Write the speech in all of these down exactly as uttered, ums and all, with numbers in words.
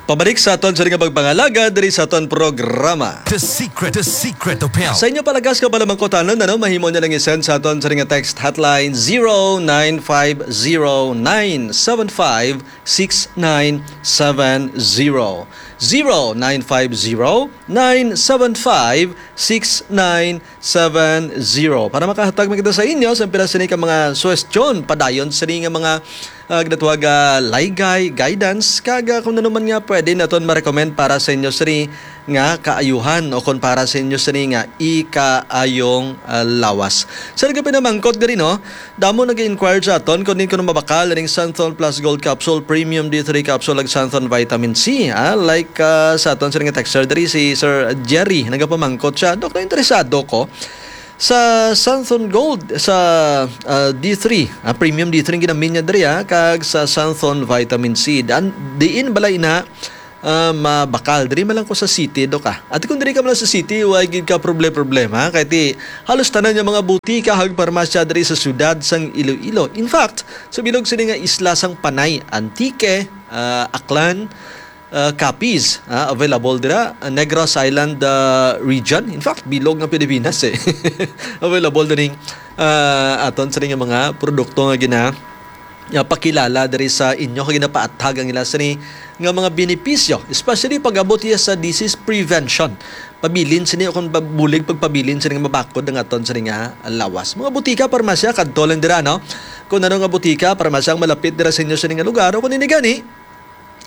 Pabalik sa aton sa nga pagpangalaga diri sa aton programa. The Secret, The Secret of Health. Sa inyo palagas ka palamangkotanon, ano, mahimo niyo lang i-send sa aton sa nga text hotline zero nine five zero nine seven five six nine seven zero. Zero nine five zero nine seven five six nine seven zero. Para makahatag man kita sa inyo sa pila sini ka mga suwestyon, padayon sini nga mga, ah, ginatawag, ah, laygay, guidance, kag, ah, kung ano man nga pwede naton ma-recommend para sa inyo sini nga kaayuhan o kung para sa inyo sini nga ikaayong, ah, lawas. Sa nagapinamangkot diri, no, damo nag-inquire sa aton kung din kuno mabakal ning Santhon Plus Gold Capsule, Premium D three Capsule, ag Santhon Vitamin C, ah, like, ah, sa aton sini nga texter diri, si Sir Jerry, nagapamangkot siya, "Doktor, interesado ko sa Santhon Gold, sa, ah, D three, ah, Premium D three ang ginamin niya diri, ah, kag sa Santhon Vitamin C. Dan, diin bala ina, ah, mabakal? Diri man lang ko sa city, Dok, ah." Ati, kung diri ka man lang sa city, way gid ka proble-problema. Kay ti, halos tanan nga mga butika kag parmasya diri sa siyudad sang Iloilo. In fact, sa bilog sini nga isla sang Panay, Antique, ah, Aklan, ah, Capiz, ah, available dira. Ah, Negros Island, ah, region. In fact, bilog nga Pilipinas, eh. Available dining, ah, aton sa nga mga produkto nga gina-, ah, pakilala diri sa inyo, kag ginapaathag ang ila sini nga mga benepisyo, especially pag-abot iya sa disease prevention. Pabilin sini o kung ba-, bulig pagpabilin sini nga mabakod ang aton sini nga lawas. Mga butika, parmasya, kadto lang dira, no? Kung ano nga butika, parmasya ang malapit dira sa inyo sini nga lugar, o kung hindi gani,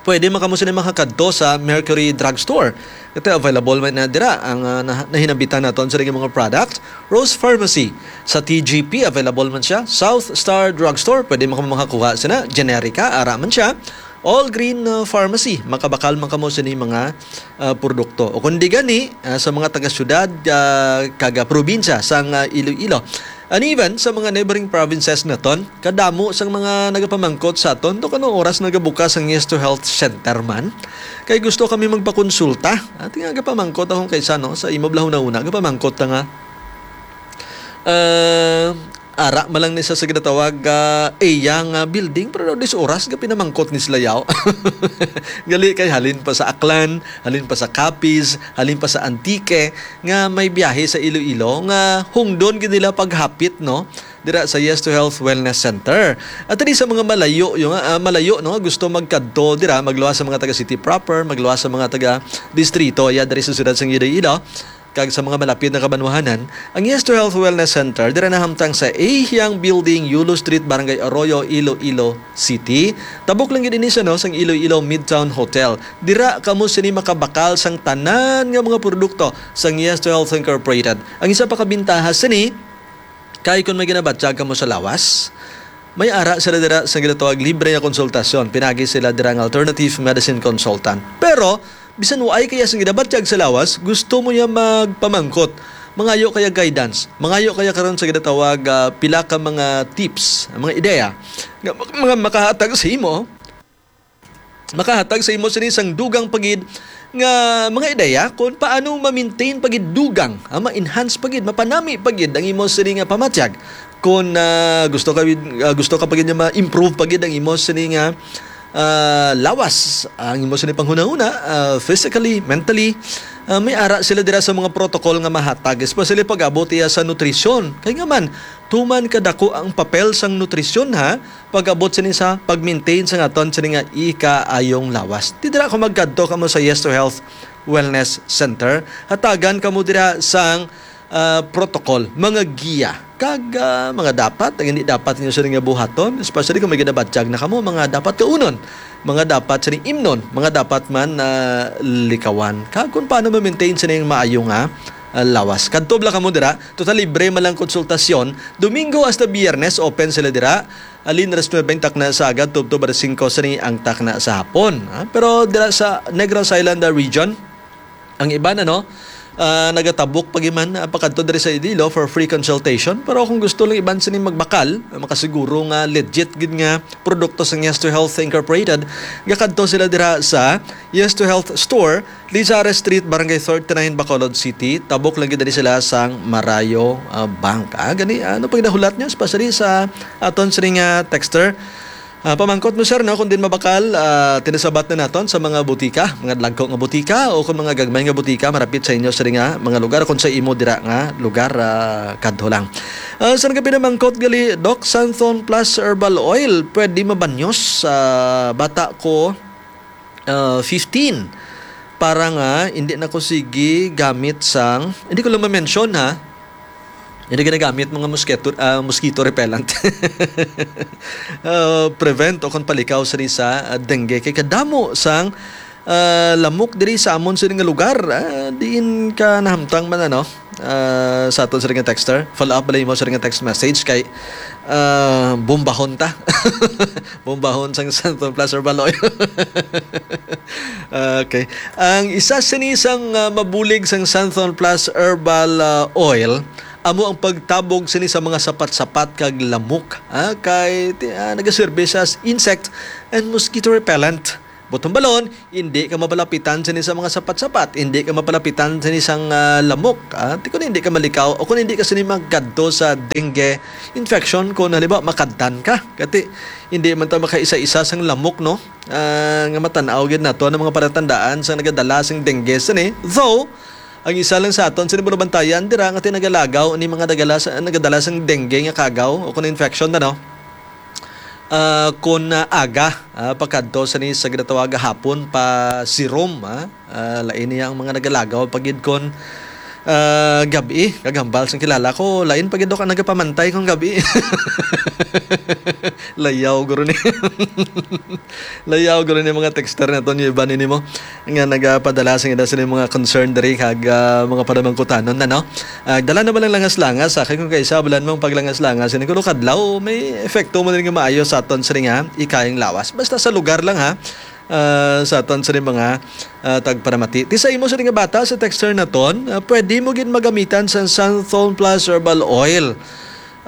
pwede man kamo sini makakadto sa Mercury Drugstore. Ito, available man na dira ang, ah, nah-, nahinambitan naton sa mga product. Rose Pharmacy, sa T G P, available man siya. South Star Drugstore, pwede man kamo makakuha sina. Generica, ara man siya. All Green, ah, Pharmacy, makabakal man kamo sini mga, ah, produkto. O kung di gani, ah, sa mga taga-syudad, ah, kag, ah, probinsya sang, ah, Iloilo. And even sa mga neighboring provinces naton, kadamo sang mga nagapamangkot sa aton, "Dok, anong oras nagabukas ang Yes to Health Center man? Kay gusto kami magpakonsulta." Ati nga, nagapamangkot akong kaisa, no, sa imo bala hunahuna, nagapamangkot ta nga, ah, ara man lang ni sa, sa ginatawag, ah, iya nga building, pero daw dis oras nga pinamangkot ni sila yaw. Gali kay halin pa sa Aklan, halin pa sa Capiz, halin pa sa Antique, nga may biyahe sa Iloilo, nga hungdon gid nila paghapit, no, dira sa Yes to Health Wellness Center. At diri sa mga malayo, yung, ah, malayo, no, gusto magkadto dira, magluwas sa mga taga city proper, magluwas sa mga taga distrito, ya, diri sa siyudad sang Iloilo, kag sa mga malapit na kabanwahanan, ang Yes to Health Wellness Center dira nahamtang sa Ahiang Building, Yulo Street, Barangay Arroyo, Iloilo City. Tabok lang gid ini siya, no, sang Iloilo Midtown Hotel. Dira kamo sini makabakal sang tanan nga mga produkto sang Yes to Health Incorporated. Ang isa pa ka bintaha sini, kay kon may ginabatyag kamo sa lawas, may ara sila dira sa ginatawag libre nga konsultasyon. Pinagi sila dira nga alternative medicine consultant. Pero bisan waay kaya sing ginabatyag sa lawas, gusto mo niya magpamangkot, mangayo kaya guidance, mangayo kaya karon sa ginatawag, ah, pila ka mga tips, mga ideya nga mak-, mga makahatag sa imo, makahatag sa imo sini sang dugang pa gid nga mga ideya kung paano ma-maintain pa gid dugang, ah, ma-enhance pa gid, mapanami pa gid ang imo sini nga pamatyag. Kung, ah, gusto ka, ah, gusto ka pa gid nga ma-improve pa gid ang imo sini nga, ah, lawas, ang imo sini panghunahuna, ah, physically, mentally, ah, may ara sila dira sa mga protocol nga mahatag, especially pag-abot iya sa nutrisyon. Kay nga man, tuman kadako ang papel sang nutrisyon, ha, pag-abot sini sa pag-maintain sa aton sini nga ikaayong lawas. Di dira ko magkadto kamo sa Yes to Health Wellness Center. Hatagan kamo dira sang, ah, protocol, mga giya, kag, ah, mga dapat, ang hindi dapat ninyo sini nga buhaton, especially kung may ginabatyag na kamo, mga dapat kaunon, mga dapat sini imnon, mga dapat man, ah, likawan. Kag kung paano ma-maintain sini ang maayo nga, ah, lawas. Kadto bala kamo dira, total libre man lang konsultasyon. Domingo hasta Biyernes, open sila dira. Halin alas nuebe ang takna sa agad, tubtob alas singko sini ang takna sa hapon. Ah, pero dira sa Negros Island, ah, region, ang iban, ano, ah, nagatabok pa gid man, ah, pakadto diri sa Iloilo for free consultation. Pero kung gusto lang iban sini magbakal, ah, makasiguro nga legit gid nga produkto sa Yes to Health Incorporated, gakadto sila dira sa Yes to Health Store, Lizares Street, Barangay thirty-nine, Bacolod City. Tabok lang gid diri sila sang Marayo, ah, Bank. Ah, gani, ano pang nahulat niyo? Especially sa aton sini nga texter, Ah, pamangkot mo, sir, no, kung din mabakal, ah, tinasabat na naton sa mga butika, mga dagko nga butika o kung mga gagmay nga butika marapit sa inyo sa nga mga lugar, kung sa imo dira nga lugar, ah, kadto lang. Ah, sa nagapinamangkot gali, Doc, Santhon Plus Herbal Oil, pwede mabanyos sa bata ko, ah, fifteen. Para nga hindi na ko sige gamit sang, hindi ko lang ma-mention, ha. Hindi ginagamit mga mosquito, ah, mosquito repellent. Ah, prevent o kon palikaw sini sa, ah, dengue. Kay kadamo sang, ah, lamok diri sa amon sini nga lugar. Ah, diin ka nahamtang man, ano? Ah, sa aton sini nga texter. Follow up bala mo sini nga text message kay, ah, bombahon ta. Bombahon sang Santhon Plus Herbal Oil. Okay. Ang isa sini sang, ah, mabulig sang Santhon Plus Herbal, ah, Oil amo ang pagtabog sini sa mga sapat-sapat kag lamok, ah, kay ti-, ah, nagaserbi sa insect and mosquito repellent. Buot silingon, hindi ka mapalapitan sini sa mga sapat-sapat, hindi ka mapalapitan sini sang, ah, lamok, ah, ti-, kung hindi ka malikaw o kung hindi ka sini magkadto sa dengue infection, kung halimbawa makadtan ka. Kati, hindi man ta makaisa-isa sang lamok, no? Ah, nga matan-aw gid nato ang mga palatandaan sang nagadala sang dengue sini. Though, ang isa lang sa aton sini bulabantayan dira nga ti nagalagaw ni mga nagala sa, nagadala sang dengue nga kagaw o kon infection na, no? Ah, kon, ah, aga, ah, pakadto sini sa ginatawag nga hapon pa serum, ah. Ah, lain niya ang mga nagalagaw pa gid kon, ah, gab-i. Kag hambal sang kilala ko, lain pa gid daw ka nagapamantay kon gab-i. Layaw guro ni. Layaw guro ni mga texter naton, yung iba nini mo nga nagapadala sa ila sila mga concern diri kag, ah, mga panamangkutanon na, no? Ah, dala na ba lang langas-langas? Sa akin, kung kaisa, bulan mong paglangas-langas, ini kuno kadlaw, may epekto mo din nga maayo sa aton sa nga ikayang lawas. Basta sa lugar lang, ha? Ah, sa aton sa mga, ah, tagparamati. Ti sa imo sa nga bata, sa texter naton, ah, pwede mo gid magamitan sa Santhon Plus Herbal Oil.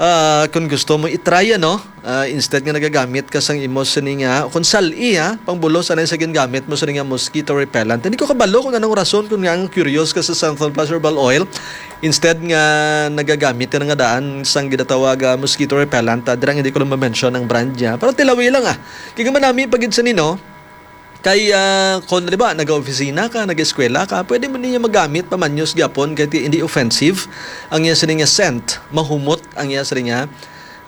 Ah, kung gusto mo i-try, ano, ah, instead nga nagagamit ka sang imo sini nga, kung sal-i, ha, pangbulos anay sa gingamit mo sini nga mosquito repellent. Hindi ko kabalo kung anong rason, kung nga ang curious ka sa Santhon Plus Herbal Oil, instead nga nagagamit ka na nga daan sang ginatawag, ah, mosquito repellent, ah, dirang hindi ko lang ma-mention ang brand niya. Pero tilawi lang, ah. Kaya manami pa gid sa nino, kay, ah, kung, di ba, nag-opisina ka, nag-eskwela ka, pwede mo niya magamit pamanyos gyapon kay ti-, hindi offensive. Ang iya sini nga scent, mahumot ang iya sini nga,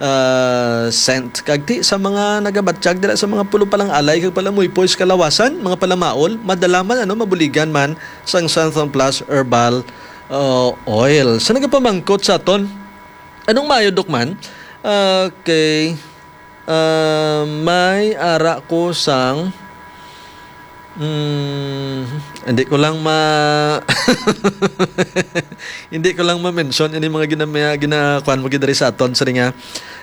ah, scent. Kag ti sa mga nagabatyag dira sa mga pulo pa lang alay kag palamuypoy sa kalawasan, mga palamaol, madala man, ano, mabuligan man sang Santhon Plus Herbal, ah, Oil. Sa nagapamangkot sa aton, anong maayo, Doc, man? Okay. Ah, may ara ko sang, mm, hindi ko lang ma-, hindi ko lang ma-mention ini mga gina-, gina-, kuan mo gid diri sa aton sa nga,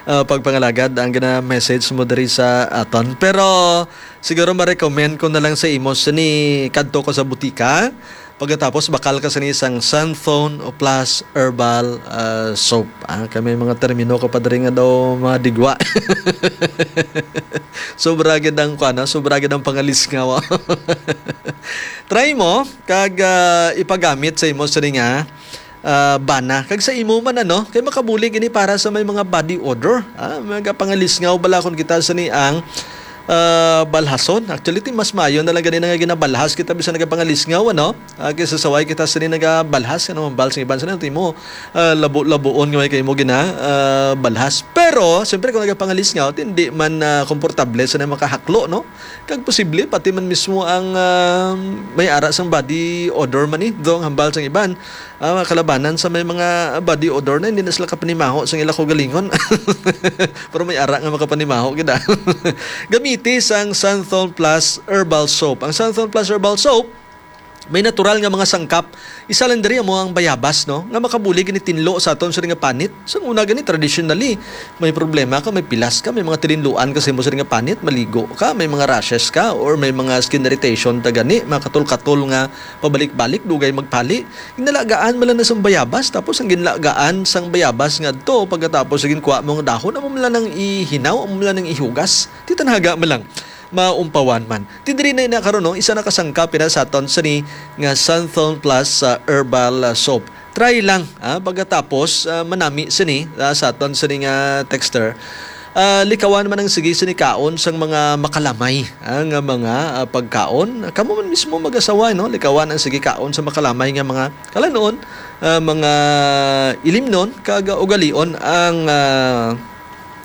ah, pagpangalagad ang gina-message mo diri sa aton. Pero siguro ma-recommend ko na lang sa imo sini kadto ko sa butika. Pagkatapos, bakal ka sini sang Santhon o Plus Herbal, ah, Soap. Ah, kay may mga termino ka pa diri nga daw mga digwa. Sobra gid ang kuan, ah, sobra gid ang pangalisngaw. Try mo kag, ah, ipagamit sa imo sini nga, ah, bana. Kag sa imo man, ano, kay makabulig ini para sa may mga body odor. Ah, magapangalisngaw bala kon kita sini ang, ah, balhason. Actually, ti mas maayo na lang gani na nga ginabalhas kita bisan nagapangalisngaw, ano? Ah, kaysa saway kita sini nagabalhas, ano, hambal sa iban sini, ti mo, ah, labo-labuon nga may kay mo gina, ah, balhas. Pero, siyempre, kung nagapangalisngaw, ti hindi man, ah, komportable sa na makahaklo, no? Kag posible, pati man mismo ang, ah, may ara sang body odor man ni, dong hambal sang iban. Ah, mga kalabanan sa may mga body odor na, hindi na sila kapanimaho sang ila kaugalingon. Pero may ara nga makapanimaho gid, ah. Gamiti sang Santhon Plus Herbal Soap. Ang Santhon Plus Herbal Soap, may natural nga mga sangkap. Isa lang diri amo ang bayabas, no, nga makabulig gani tinlo sa aton sa nga panit. Sa una gani, traditionally, may problema ka, may pilas ka, may mga tilinluan ka sa imo sa nga panit, maligo ka, may mga rashes ka, or may mga skin irritation ta gani, mga katol-katol nga pabalik-balik, dugay magpali. Ginalagaan man lang na sang bayabas, tapos ang ginlagaan sang bayabas nga adto, pagkatapos sa ginkuha mo ang dahon, amo man lang nang ihinaw, amo man lang nang ihugas. Ti tanaga man lang, maumpawan man. Ti diri na ina karon, no, isa na ka sangkap ina sa aton sini nga Santhon Plus, ah, Herbal, ah, Soap. Try lang, ah, pagkatapos, ah, manami sini, ah, sa aton sini nga texter. Ah, likawan man ang sige sini kaon sang mga makalamay, ah, nga mga, ah, pagkaon. Kamo man mismo mag-asawa, no? Likawan ang sige kaon sa makalamay nga mga kalanon, ah, mga ilimnon, kag ugalion ang, ah,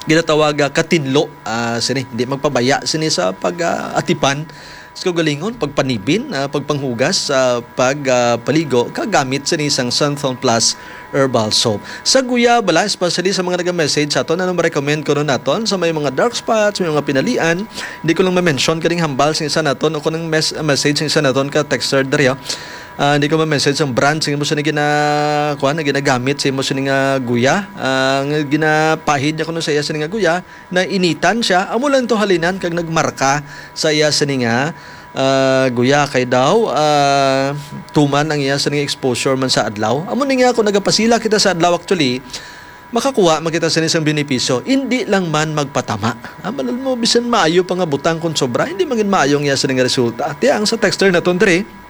ginatawag, ah, katinlo, ah, sini. Hindi magpabaya sini sa pag, ah, atipan sa kaugalingon, pagpanibin, ah, pagpanghugas, ah, pag, ah, paligo, kagamit sini sang Santhon Plus Herbal Soap. Sa guya bala, especially sa mga naga-message sa aton, ano ma-recommend ko nun naton sa may mga dark spots, may mga pinalian? Hindi ko lang ma-mention kaning hambal sa isa naton o kung mes-, message sa isa naton ka texter diri, ah. Ah, hindi ko ma-message ang brand sa imo sini gina-, kuwan, na ginagamit sa imo sini nga guya. Ah, nga ginapahid niya kuno sa iya sini nga guya, nainitan siya, amo lang to halinan kag nagmarka sa iya sini nga, ah, guya kay daw, ah, tuman ang iya sini nga exposure man sa adlaw. Amo ni nga kung nagapasila kita sa adlaw, actually, makakuha man kita sini sang benepisyo. Hindi lang man magpatama. Ah, malal mo, bisan maayo pa nga butang kung sobra, hindi man gid maayo ang iya sini nga resulta. Tiya ang sa texter naton diri,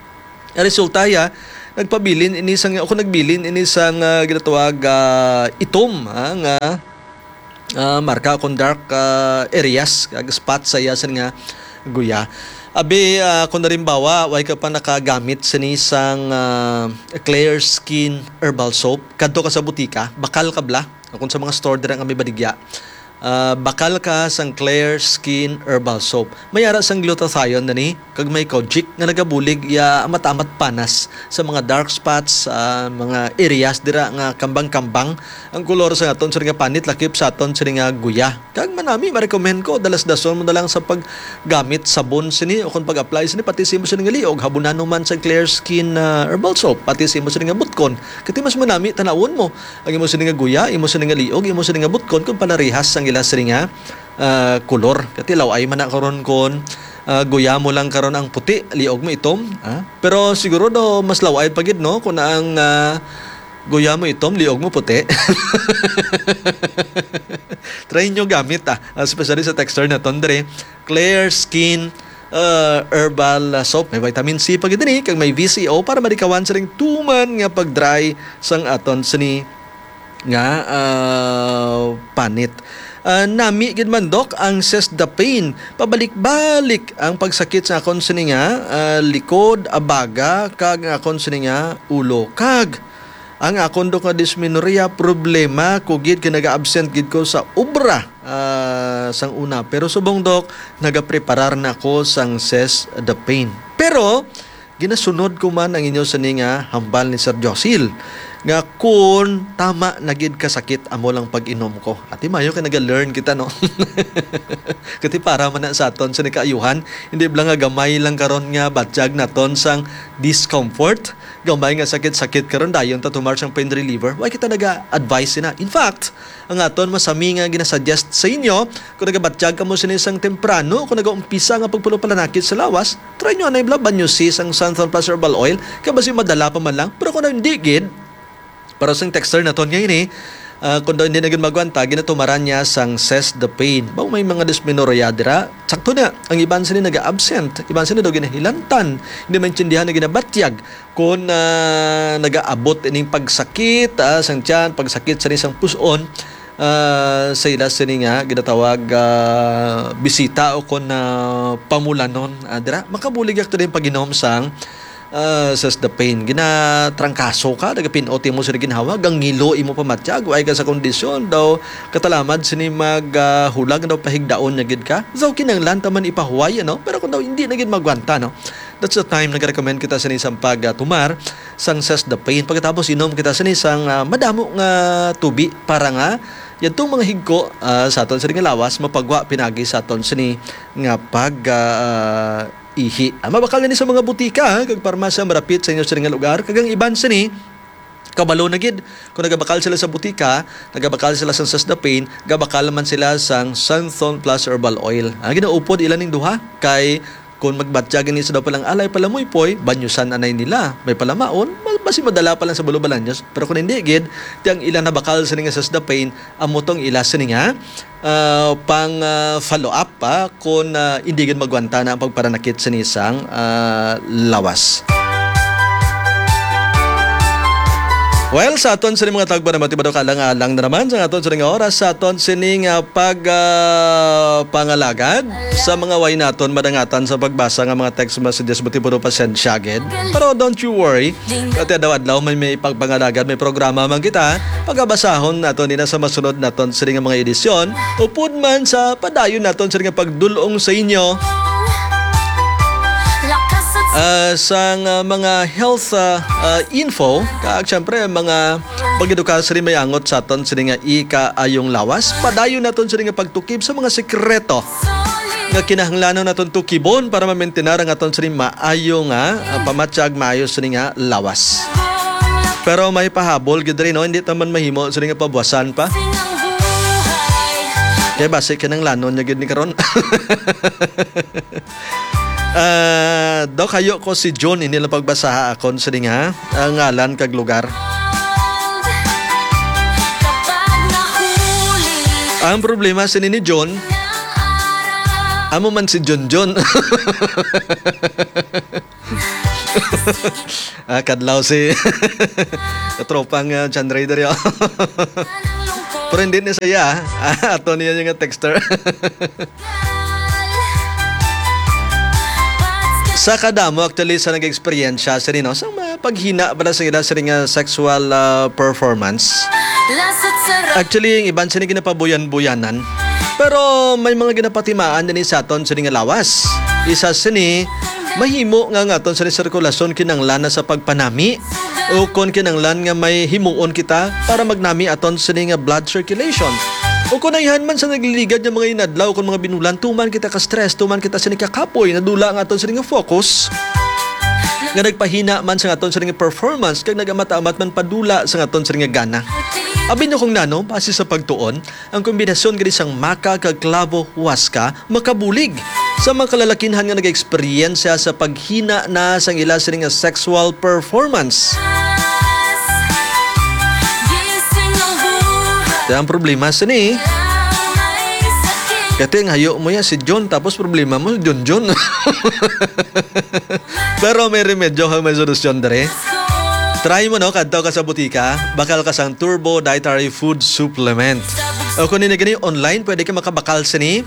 ang resulta ya, nagpabilin ini sang, o kung nagbilin ini sang, ah, ginatawag, ah, itom, ah, nga, ah, marka o kung dark, ah, areas, kag spot sa iya sini nga guya. Abi, ah, kung halimbawa, way ka pa nakagamit sini sang, ah, Clear Skin Herbal Soap, kadto ka sa butika, bakal ka bala, o kung sa mga store dira nga may baligya. Ah, bakal ka sang Clear Skin Herbal Soap. May ara sang glutathione na ni, kag may kojic nga nagabulig ya amat-amat panas sa mga dark spots, ah, mga areas dira nga kambang-kambang ang kolor sa aton sini nga panit, lakip sa aton sini nga guya. Kag manami, ma-recommend ko, dalas-dason mo na lang sa paggamit sabon sini o kung pag-apply sini, pati sa imo sini nga liog, habunan mo man sa Clear Skin, ah, Herbal Soap, pati sa imo sini nga butkon. Kati mas manami, tanawon mo ang imo sini nga guya, imo sini nga liog, imo sini nga butkon, kung palarihas sang ila sini nga, ah, kolor. Kati law-ay man na karon kon, ah, guya mo lang karon ang puti, liog mo itom, ah. Pero siguro daw mas law-ay pa gid, no, kung ang, ah, guya mo itom, liog mo puti. Try nyo gamit, ah, especially sa texter naton diri. Clear Skin, ah, Herbal, ah, Soap. May vitamin C pa gid diri, kag may V C O para malikawan sa ring tuman nga pag-dry sang aton sini nga, ah, panit. Ah, nami gid man, Doc, ang Cess the Pain. Pabalik-balik ang pagsakit sa akon sini nga, ah, likod, abaga, kag ang akon sini nga ulo. Kag ang akon, Doc, nga dysmenorrhea, problema ko gid kay naga-absent gid ko sa obra, ah, sang una. Pero subong, Doc, nagapreparar na ako sang Cess the Pain. Pero ginasunod ko man ang inyo sini nga hambal ni Sir Josil, nga kun tama na gid ka sakit, amo lang pag-inom ko. Ati mayo kay naga-learn kita, no? Kati para man na sa aton sini kaayuhan, hindi bala nga gamay lang karon nga batyag naton sang discomfort, gamay nga sakit-sakit karon, dayon ta tumar sang pain reliever. Why kita naga-advise sina? In fact, ang aton masami nga ginasuggest sa inyo, kung nagabatyag kamo sini sang temprano, kung nagaumpisa nga pagpulo palanakit sa lawas, try nyo anay bala, banyo si sang Santhon Plus Herbal Oil, kay basi madala pa man lang. Pero kung hindi gid, para sang texter naton nga ini, ah, kung daw hindi na gid magwanta, ginatumaran niya sang Cess the Pain. Baw may mga dysmenorrhea dira, sakto na. Ang iban sini naga-absent, iban sini daw ginahilantan, hindi maintindihan na ginabatyag. Kung, ah, nagaabot ining pagsakit, ah, sang tiyan, pagsakit sa isang puson, ah, sa ila sini nga ginatawag, ah, bisita o kon, ah, pamulanon, ah, dira, makabulig yak to din pag-inom sang, ah, Cess the Pain. Ginatrangkaso ka, nagapinot imo sa ginhawa, gangilo imo pamatyag, way ka sa kondisyon daw, katalamad sini mag, ah, hulag daw pahigdaon niya gid ka. Daw kinanglan ta man ipahuway, ano? Pero kung daw hindi na gid magwanta, no? That's the time nagarecommend kita sini sang pag, ah, tumar sang Cess the Pain. Pagkatapos inom kita sini sang, ah, madamo nga tubi para nga yadtong mga higko, ah, sa aton sini nga lawas mapagwa pinagi sa aton sini nga pag, ah, ihi. Ah, mabakal na ni sa mga butika, ha, kag parmasya marapit sa inyo sini nga lugar. Kag ang iban sini, kabalo na gid, kung nagabakal sila sa butika, nagabakal sila sang Cess the Pain, gabakal man sila sang Santhon Plus Herbal Oil. Ang ginaupod ila ning duha, kay kung magbatyag ini sa daw palang alay palamuypoy, banyusan anay nila. May palamaon, ma-, basi madala pa lang sa balubalanyos. Pero kung hindi gid, ti ang ila nabakal sini nga Cess the Pain, amo tong ila sini nga, ah, pang, ah, follow up pa kung, ah, hindi gid magwanta na ang pagparanakit sini sang, ah, lawas. Well, sa aton sini mga tagbo na matibado, kalang-alang na naman sa aton sini nga oras, sa aton sini nga pag, ah, pangalagad sa mga way naton madangatan sa pagbasa nga mga text messages, matibado, pasensya gid. Pero don't you worry, kati adlaw-adlaw may, may pagpangalagad, may programa man kita. Pagabasahon naton nina sa masunod naton sini nga mga edisyon. Upod man sa padayon naton sini nga pagdulong sa inyo, ah, sang, ah, mga health, ah, ah, info, kag syempre, mga pag-edukar sini may angot sa aton sini nga ikaayong lawas. Padayon naton sini nga pagtukib sa mga sekreto nga kinahanglanon naton tukibon para mamaintinar ang aton sini maayo nga, ah, pamatyag, maayo sini nga lawas. Pero may pahabol gid rin, no? Hindi ta man mahimo sini nga pabuwasan pa. Kaya basi kinahanglanon niya gid ni karon. Ah, Doc, hayo ko si June, hindi lang pagbasaha akon sini nga, ah, ngalan kag lugar. Ang problema sini ni June, amo man si Junjun. Ah, kadlaw si katropang, ah, John Ray diri, oh. Pero hindi ni siya, ah. Ah, ato niya yung texter. Sa kadamo, actually, sa nag-eksperyensya, sini, no? Sa mga paghina pala sa ila, sini nga sexual, ah, performance. Actually, yung iban sini ginapabuyan-buyanan. Pero may mga ginapatimaan din sa aton sini nga lawas. Isa sini, mahimo nga nga aton sini sirkulasyon kinanglan na sa pagpanami. O kon kinanglan nga may himuon kita para magnami aton sini nga blood circulation. O kon ayhan man sa nagliligad nga mga inadlaw, kon mga binulan, tuman kita ka stress, tuman kita sini kakapoy, nadula ang aton sini nga focus. Nga nagpahina man sa aton sini nga performance, kag nagamat-amat man padula sa aton sini nga gana. Abi niyo kung nano, base sa pagtuon, ang kombinasyon gani sang maca kag clavo huasca makabulig sa mga kalalakinhan nga nag-eksperyensya sa paghina na sang ila sini nga sexual performance. Kaya ang problema sini, kati ang hayo mo ya si John, tapos problema mo si John John. Pero may remedyo kag may solusyon dere. Try mo, no, kadto ka sa butika, bakal ka sang Turbo Dietary Food Supplement. O kung ini gani online, pwede ka makabakal sini.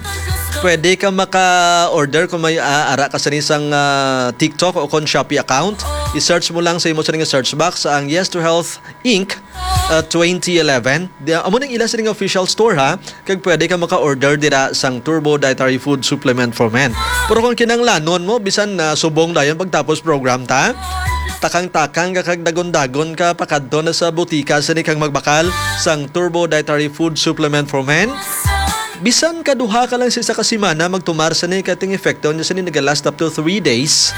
Pwede ka maka-order kung may, ah, ara ka sini sang, ah, TikTok o kung Shopee account. I-search mo lang sa imo sa nga search box ang Yes to Health Inc, ah, twenty eleven. Di, amo ning ila sini nga official store, ha. Kag pwede ka maka-order dira sang Turbo Dietary Food Supplement for Men. Pero kung kinanglanon mo, bisan na subong dayon pagtapos program ta, takang-takang ka kag dagon-dagon ka pakadto na sa butika sini kang magbakal sang Turbo Dietary Food Supplement for Men. Bisan ka duha ka lang sa isa ka semana magtumar sini, kay ang epekto niya sini naga-last up to three days.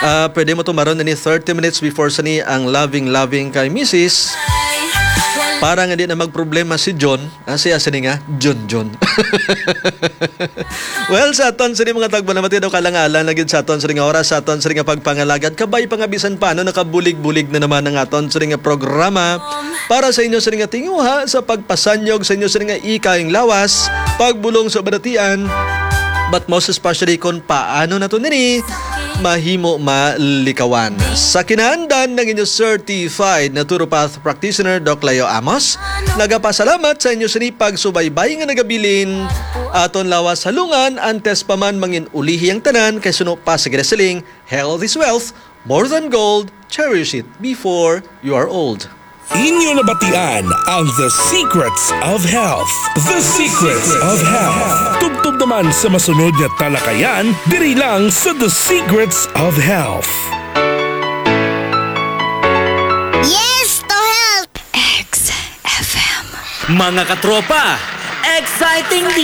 Ah, pwede mo tumaron ini thirty minutes before sini ang loving-loving kay misis. Para nga di na magproblema si John, ah, siya sini nga, John John. Well, sa aton sini mga tagbo na matido kalangalan lagi sa aton sini nga oras, sa aton sini nga pagpangalagad, kabay pa nga bisan paano nakabulig-bulig na naman ang aton sini nga programa para sa inyo sini nga tinguha sa pagpasanyog sa inyo sini nga ikaayong lawas, pagbulong sa balatian, but most especially kung paano nato nini mahimo malikawan. Sa kinaandan ng inyo certified naturopath practitioner, Doc Leo Amos, nagapasalamat sa inyo sini pagsubaybay nga nagabilin aton lawas halungan, antes pa man mangin ulihi ang tanan, kay suno pa sa ginasiling, "Health is wealth, more than gold, cherish it before you are old." Inyo nabatian ang The Secrets of Health. The Secrets of Health. Tubtob naman sa masunod nga talakayan, diri lang sa The Secrets of Health. Yes to health! X F M. Mga katropa, exciting di